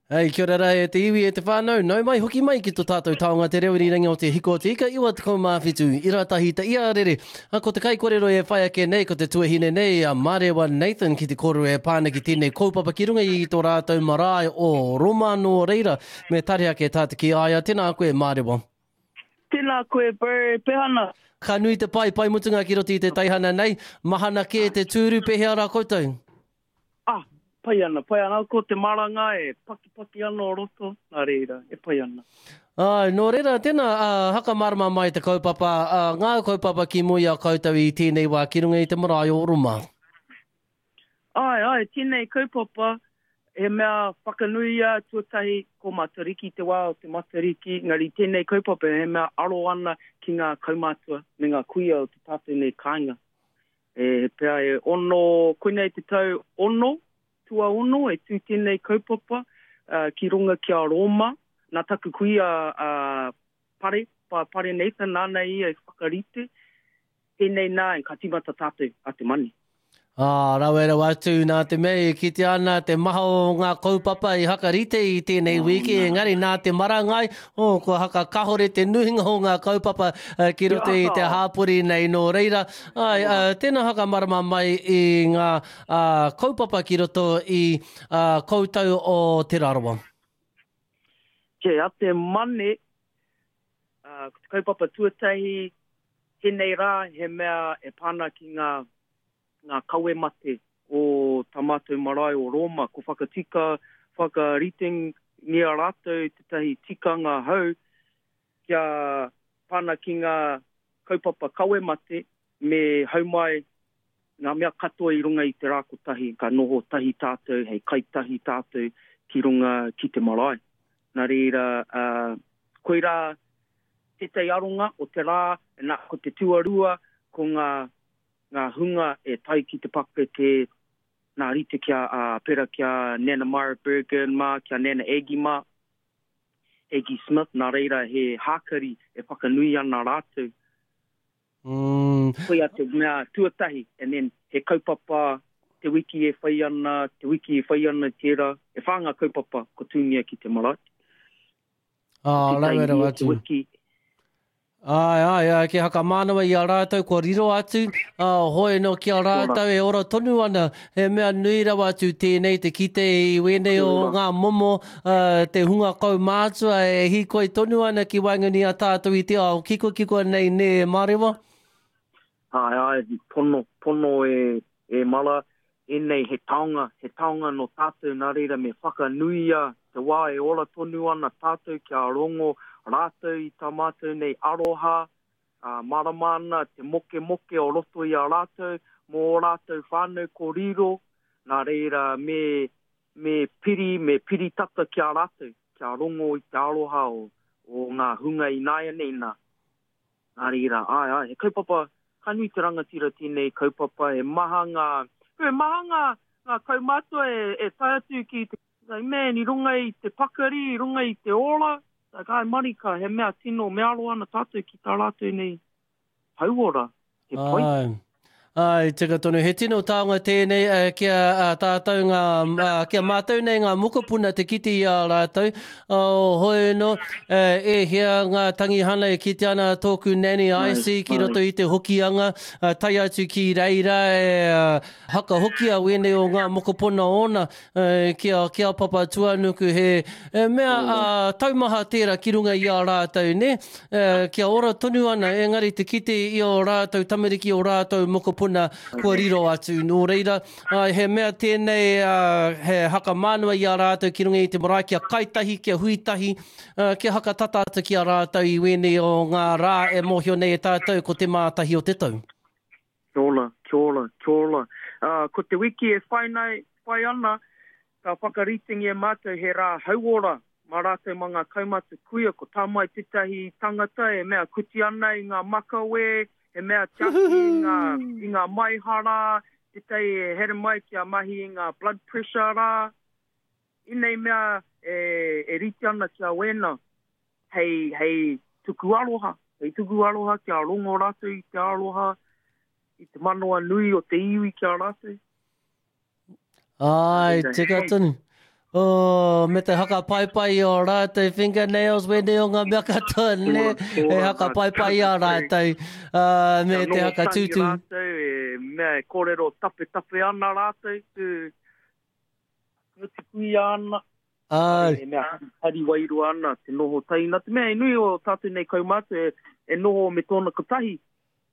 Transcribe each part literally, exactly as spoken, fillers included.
Hei, kia ora rā e te iwi e te whānau, nau mai hoki mai ki to tātou taonga te reo irirangi o te hiko o te ika iwa tekau mā whitu, ira tahi te ia rere. A, ko te kaikorero e whai ake nei, ko te tuahine nei a Marewa Nathan ki te kōrero e pā ana ki tēnei kaupapa ki runga i tō rātou marae o Roma nō reira, me tare ake tā te ki a ia. Tēnā koe Marewa. Tēnā koe Bro, Pehana. Ka nui te pai, pai mutunga ki roto i te teihana nei, mahana kē te tūru, pēhea rā koutou? Ah, pai ana, pai ana. Ko te maranga e pakipaki ana o roto, nā reira, e pai ana. Ai, nō reira, tēnā, uh, hakamārama mai te kaupapa, uh, ngā kaupapa ki mua i a koutou i tēnei wā ki runga i te marae o Roma. Ai, ai, tēnei kaupapa, he mea whakanuia tuatahi ko Matariki, te wā o te Matariki, engari tēnei kaupapa he mea aro ana ki ngā kaumātua me ngā kuia o te tātou nei kāinga. E, pea e ono, koinei te tau ono, tuaono e tū tēnei kaupapa uh, ki runga ki a Roma. Nā taku kuia uh, Pare, pa, Pare Nathan, nāna ia e whakarite. Tēnei nā, e ka tīmata tātou a te mani. Ah, rawe rawa atu nā te mea e kite ana te maha o ngā kaupapa i hakarite i tēnei wiki, engari nā te marangai, oh, kua hakakahore te nuinga o ngā kaupapa uh, ki roto i te hāpori nei nō reira. Ai, uh, tēnā hakamarama mai i ngā uh, kaupapa ki roto i uh, koutou o Te Rarawa. Ke a te mane, uh, ko te kaupapa tuatahi, tēnei rā he mea e pāna ki ngā ngā kawe mate o tā mātou marae o Roma, ko whakatika, whakaritengia rātou tētahi tikanga hau kia pāna ki ngā kaupapa kawe mate me hau mai ngā mea katoa i runga i te rā kotahi, ka noho tahi tātou, hei kai tahi tātou ki runga ki te marae. Nā reira, uh, koirā tētahi aronga o te rā, nā, ko te tuarua, ko ngā ngā hunga e tai ki te pakeke, nā rite kia uh, pera kia Nana Myra Bergen mā, kia Nana Aggie mā, Aggie Smith, nā reira he hākari e whakanui ana rātou. Mm. Koia te mea tuatahi, and then he kaupapa te wiki e whai ana, te wiki e whai ana tērā, e whā ngā kaupapa ko tūngia ki te marae. Ah, rawe rawa atu. Te wiki. Ai, ai, ai, ki hakamānawa i a rātou kua riro atu, uh, hoi no ki a rātou e ora tonu ana, he mea nui rawa atu tēnei te kite i wēnei o ngā momo, uh, te hunga kaumātua e hīkoi tonu ana ki waenganui a tātou i te ao kiko kiko nei nē Marewa. Ai, ai, pono, pono e, e mara, ēnei he taonga, he taonga no tātou nā reira me whakanuia te wā e ora tonu ana tātou kia rongo rātou i tā mātou nei aroha, uh, marama ana te moke moke o roto i a rātou, mō o rātou whānau ko riro, nā reira me, me piri, me piri tata ki a rātou, kia rongo i te aroha o, o ngā hunga i nāianei nā. Nā reira, ai, ai, he kaupapa, ka nui te rangatira tēnei kaupapa, he maha ngā, he maha ngā, ngā kaumātua e, e tae atu ki te, like, man, i runga i te pakari, i runga i te ora, like, ai marika, he mea tino, me aro ana tātou ki tā rātou nei hauora, he pai. Ai. Ai, tika tonu. He tino taonga tēnei uh, kia uh, tātou ngā, uh, kia mātou nei ngā mokopuna te kite i a rātou. Oh, hoi no, uh, e hea ngā tangihana e kite ana tōku nanny Icy ki roto i te hokianga, uh, tae atu ki reira e uh, hakahokia wēnei o ngā mokopuna ōna uh, ki a, ki a Papatūānuku he e mea uh, taumaha tērā ki runga i a rātou, ne? Uh, kia ora tonu ana, engari te kite i o rātou tamariki o rātou mokopuna kua riro atu. Nō reira, uh, he mea tēnei uh, he hakamānawa i a rātou ki runga i te marae, kia kaitahi, kia huitahi, uh, kia hakatata atu ki a rātou i wēnei o ngā rā e mōhio nei e tātou ko te mātahi o te tau. Kia ora, kia ora, kia ora. Uh, ko te wiki e whai, nei, whai ana, ka whakaritengia mātou he rā hauora mā rātou mā ngā kaumātua kuia, ko tā mai tētahi tangata e mea kuti ana i ngā makawe, he mea tiaki i ngā, i ngā maihara, tētahi e here mai kia mahi i ngā blood pressure rā. Inei mea e, e rite ana kia wēna, hei, hei tuku aroha, hei tuku aroha kia rongo rātou i te aroha, i te manawa nui o te iwi ki a rātou. Ai, tika tonu. Oh, me te haka paipai i o rātou fingernails, wēnei o ngā mea katoa, ne? E haka paipai i a rātou, uh, me te haka tūtū. Rātou, e mea e kōrero tape tape ana rātou, tu nguti kuia ana. Ai. E mea hari wairua ana, te noho tahi. Nā te mea e nui o tātou nei kaumātua e, e noho me tōna kotahi,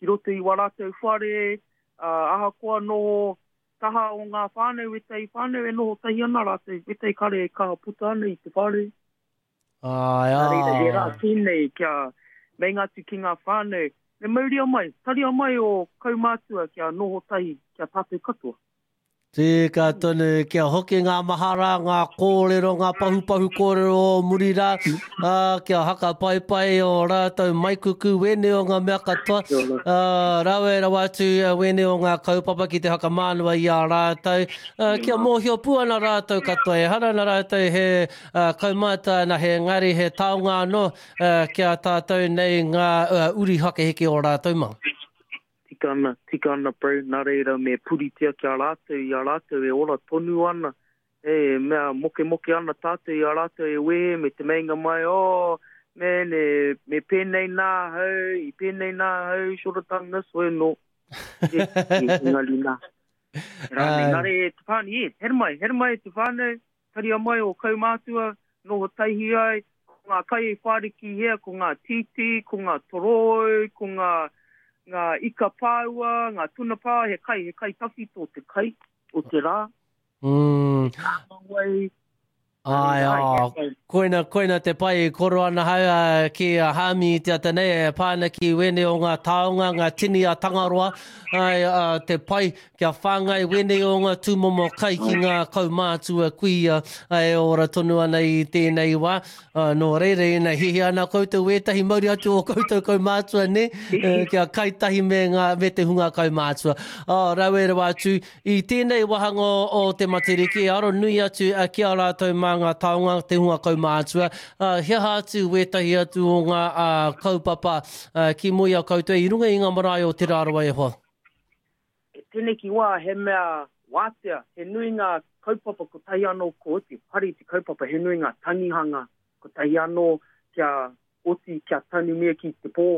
ki roto i wā rātou whare, uh, ahakoa noho taha o ngā whānau, wētahi whānau e noho tahi ana rātou, wētahi kare e kaha puta ana i te whare. Ai, Nā reira, he rā ai. tēnei kia meinga atu ki ngā whānau, me mauria mai, taria mai o kaumātua kia noho tahi, kia tātou katoa. Tika tonu, kia hoki ngā mahara, ngā kōrero, ngā pahupahu kōrero o muri rā, uh, kia haka paipai o rātou maikuku wēnei o ngā mea katoa, uh, rawe rawa atu wēnei o ngā kaupapa ki te hakamānua i a rātou, uh, kia mōhio pū ana rātou katoa, e hara ana rātou he uh, kaumātua na he ngari, he taonga anō, uh, kia tātou nei ngā uh, uri hakeheke o rātou mā. Tika ana, tika ana bro, nā reira me puritia kia rātou, i a rātou e ora tonu ana, e mea moke moke ana tātou i a rātou e wehe me te meinga mai, oh, man, e, me pēnei nā hau, i pēnei nā hau, should have done this way, no. E, e, engari nā. Rānei, nā reira, te whānau, e, here mai, here mai te whānau, taria mai o kaumātua, noho taihi ai, ko ngā kai e whāriki hea, ko ngā tītī, ko ngā toroi, ko ngā ngā ika pāua, ngā tuna pāua, he kai, he kai tawhito te kai o te rā. Mm. Kāmawai. Ai, ai, koina, koina te pai i koro ana hau uh, ki a Hāmi i te ata nei, e pāna ki wēnei o ngā taonga, ngā tini a Tangaroa, ai, uh, te pai kia whāngai wēnei o ngā tūmomo kai ki ngā kaumātua kuia ai, ora tonu ana i tēnei wā. Uh, nō reira, ina hihi ana koutou wētahi mauri atu o koutou kaumātua, ne? Uh, kia kai tahi me, ngā, me te hunga kaumātua. Uh, rawe rawa atu, i tēnei wāhanga o te Matariki, aro nui atu uh, ki a rātou mā ngā taonga, te hunga kaumātua. Uh, he aha atu wētahi atu o ngā uh, kaupapa uh, ki mua i a koutou i runga i ngā marae o Te Rarawa e hoa. Tēnei ki wā, he mea wātea, he nui ngā kaupapa kotahi anō ko oti, pari te kaupapa, he nui ngā tangihanga kotahi anō kia oti, kia tanumia ki te pō,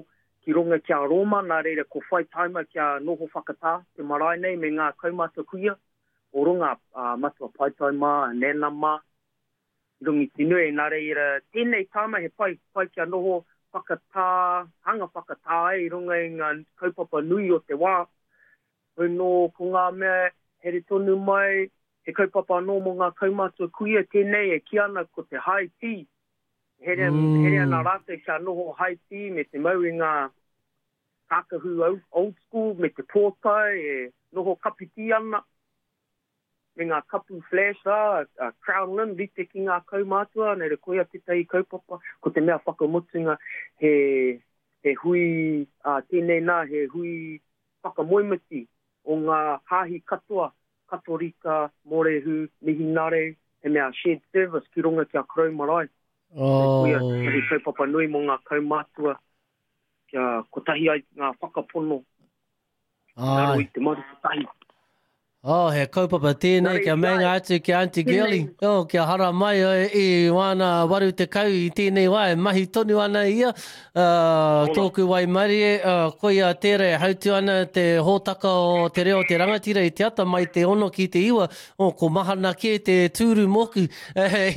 ki runga kia Roma, nā reira ko whai taima kia noho whakatā te marae nei me ngā kaumātua kuia, o runga uh, matua paitai mā, nena mā, rungi te nui, nā reira tēnei tāma he pai, pai kia noho whakatā, hanga whakatā ai i runga i ngā kaupapa nui o te wā. Hoi nō ko ngā mea here tonu mai, he kaupapa anō mō ngā kaumātua kuia tēnei e kī ana ko te high tea. Here, Mm. here ana rātou kia noho high tea me te mau i ngā kākahu old school me te pōtae e noho kapiti ana. Me ngā kapu flash rā, a Crown Lynn, rite ki ngā kaumātua, nei re koia tētahi kaupapa, ko te mea whakamutunga, he, he hui, uh, tēnei nā, he hui whakamoemiti o ngā hāhi katoa, Katorika, Morehu, Mihinare, he mea shared service ki runga ki a Korou Marae. Oh. Koia tētahi kaupapa nui mō ngā kaumātua, kia kotahi ai ngā whakapono, Ai. raro i te maru kotahi. Oh, he kaupapa tēnei kia meinga atu ki Auntie Girlie. Oh, kia hara mai i wāna waru te kau i tēnei wā, e mahi tonu ana ia. Uh, tōku waimarie, uh, koia tērā e hautu ana te hōtaka o te reo te rangatira i te ata mai te ono ki te iwa. Oh, ko mahana kē te tūru mōku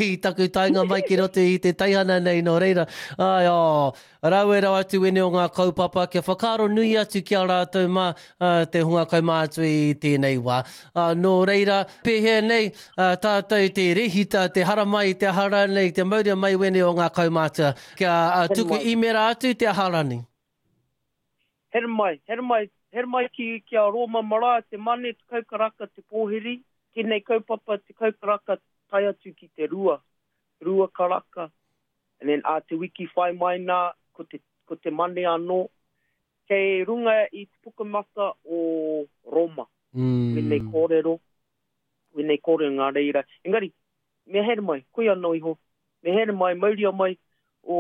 i taku taenga mai ki roto i te teihana nei nō reira. Ai, oh, rawe rawa atu wene o ngā kaupapa kia whakaaro nui atu ki a rātou mā uh, te hunga kaumātua i tēnei wā. Uh, nō reira, pēhea nei uh, tātou te rehita, te haramai, te aha rānei, te mauria mai wene o ngā kaumātua. Kia uh, tuku imera atu te aha rānei. Here mai, here mai, here mai ki, ki a Roma Marae, te mane, te kaukaraka, te pōhiri, tēnei kaupapa, te kaukaraka, tae atu ki te rua, rua karaka. And then a te wiki whai mai nā, ko te, ko te mane anō, kei runga i te pukamata o Roma. Mm. Wēnei kōrero, wēnei kōrero ngā reira. Engari, me here mai, koia anō iho, me here mai, mauria mai o,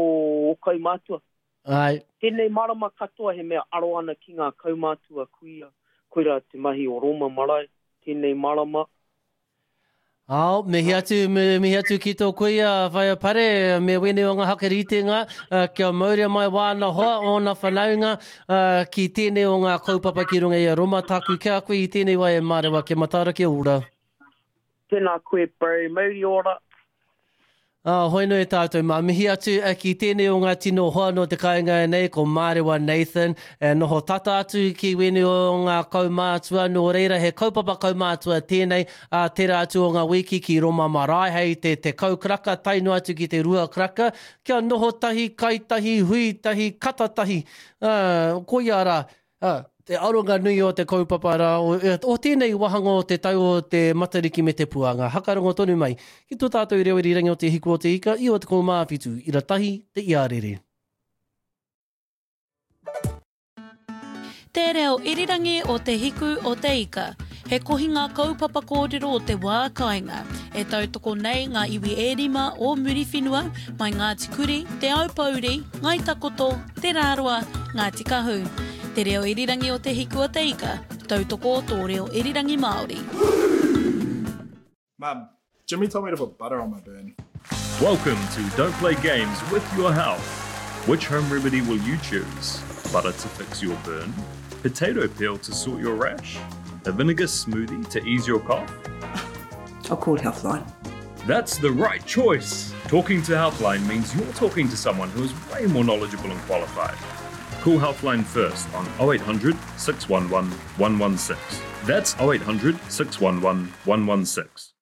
o kaumātua. Ai. Tēnei marama katoa he mea aro ana ki ngā kaumātua kuia, koira te mahi o Roma Marae, tēnei marama. Ao, mihi atu, mihi atu ki tō kuia, Whaea Pare, me wēnei o ngā hakaritenga, kia mauria mai wāna hoa, ōna whanaunga, ki tēnei o ngā kaupapa ki runga i a Roma. Tāku ki a koe i tēnei wā e Mārewa, kia mataara, kia ora. Tēnā koe, bro, mauri ora. Ah, hoi nui tātou mā. Mihi atu ki tēnei o ngā tino hoa nō te kāinga nei, ko Mārewa Nathan, e noho tata atu ki wēnei o ngā kaumātua, nō reira he kaupapa kaumātua tēnei, a tērā atu o ngā wiki ki Roma Marae, hei te tekau karaka, tae noa atu ki te rua karaka, kia noho tahi, kai tahi, hui tahi, kata tahi, ah, koia rā, ah, te aronga nui o te kaupapa rā, o, o tēnei wāhanga o te tau o te Matariki me te Puanga. Hakarongo tonu mai ki tō tātou reo irirangi o te Hiku o te Ika, i o te kōmāwhitu, ira tahi, te iarere. Te reo irirangi o te Hiku o te Ika, he kohinga kaupapa kōrero o te wā kāinga, e tautoko nei ngā iwi e rima o Muriwhenua, mai Ngāti Kuri, Te Aupōuri, Ngāi Takoto, Te Rāroa, Ngāti Kahu. Te reo irirangi o te Hiku o te Ika, tautoko o tō reo irirangi Māori. Mum, Jimmy told me to put butter on my burn. Welcome to Don't Play Games with Your Health. Which home remedy will you choose? Butter to fix your burn? Potato peel to sort your rash? A vinegar smoothie to ease your cough? I'll call Healthline. That's the right choice! Talking to Healthline means you're talking to someone who is way more knowledgeable and qualified. Call Healthline first on oh eight hundred, six one one, one one six. That's oh eight hundred, six one one, one one six.